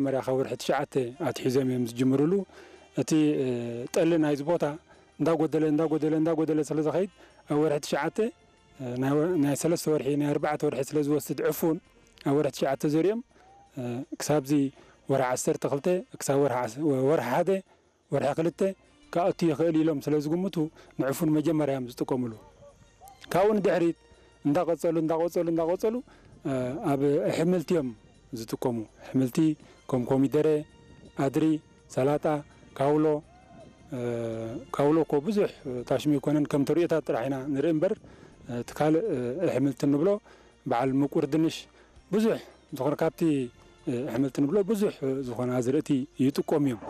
መጀመርያ ካብ ወርሒ ትሽዓተ ኣትሒዞም እዮም ዝጅምርሉ። እቲ ጠሊ ናይዚ ቦታ እንዳጎደለ እንዳጎደለ እንዳጎደለ ስለ ዝኸይድ፣ ኣብ ወርሒ ትሽዓተ ናይ ሰለስተ ወርሒ ናይ ኣርባዕተ ወርሒ ስለ ዝወስድ ዕፉን፣ ኣብ ወርሒ ትሽዓተ ዘሪኦም ክሳብዚ ወርሒ ዓሰርተ ክልተ ክሳብ ወርሒ ሓደ ወርሒ ክልተ ክኣቱ ይኽእል ኢሎም ስለ ዝግምቱ፣ ንዕፉን መጀመርያ እዮም ዝጥቀምሉ። ካብኡ ንድሕሪት እንዳቐጸሉ እንዳቐጸሉ እንዳቐጸሉ ኣብ ኣሕምልቲ እዮም ዝጥቀሙ። ኣሕምልቲ ከም ኮሚደረ፣ ኣድሪ፣ ሰላጣ፣ ካውሎ። ካውሎ እኮ ብዙሕ ታሽሚ ኣይኮነን፣ ከም ተርእዮታት ጥራሕ ኢና ንርኢ እምበር፣ እቲ ካልእ ኣሕምልቲ እንብሎ በዓል ምቁር ድንሽ፣ ብዙሕ ዝኾነ ካብቲ ኣሕምልቲ ንብሎ ብዙሕ ዝኾነ ኣዝርእቲ ይጥቀሙ እዮም።